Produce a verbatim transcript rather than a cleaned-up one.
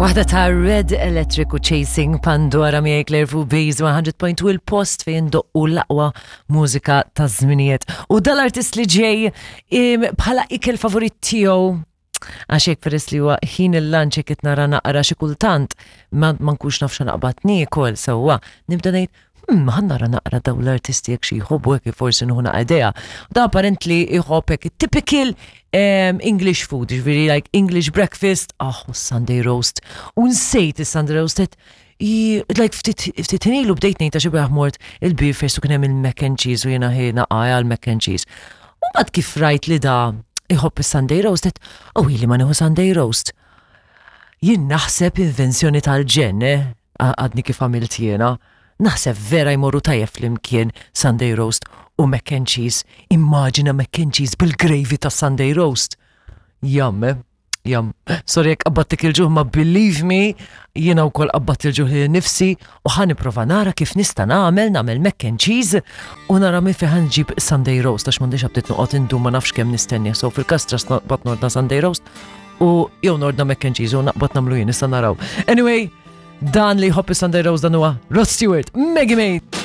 Waħda ta' Red Electric u Chasing Pandora miegħi Claire fuq Base one hundred point two, il-post fejn doqqu l-aqwa mużika ta' żminijiet. U dal-artist li ġej im, bħala ikel favorit tiegħu, għax hekk peress li huwa ħin il-lunch, hekk qed nara naqra xi kultant ma ma nkunx naf naqbad niekol sewwa, nibda ngħid, Hmm, ħa nara naqra daw l-artisti jekk xi jħobbu, hekk forsi nieħu naqra idea. Da apparently jħobb hekk typical um, English food, ġifieri like English breakfast, ah, u Sunday roast. U nsejt is-Sunday roast, et, i- like ftit ftit ilu bdejt ngħid għax bieraħ mort il-Beerfest u kien hemm il-mac and cheese u jiena ħina għal mac and cheese. U mbagħad kif rajt li da iħobb is-Sunday roast, et, oh, ili ma nieħu Sunday roast. Jien naħseb invenzjoni tal-ġen, eh? Għadni kif għamilt jiena. Naħseb vera jmorru tajjeb flimkien Sunday roast u mac and cheese. Immaġina mac and cheese bil-gravy ta' Sunday roast. Yum, eh? Yum. Sorry jekk qabbattik il-ġuħ, ma believe me, jiena wkoll qabbat il-ġuħ li nifsi u ħa nipprova nara kif nista' nagħmel nagħmel mac and cheese u nara minn fejn ħa nġib Sunday roast, għax m'għandix aptit noqgħod indum ma nafx kemm nistenni. So fil-kastra naqbad nordna Sunday roast u jew nordna mac and cheese u naqbad nagħmlu jien, issa naraw. Anyway, dan li jħobb Sunday roast, dan huwa Rod Stewart, Maggie May.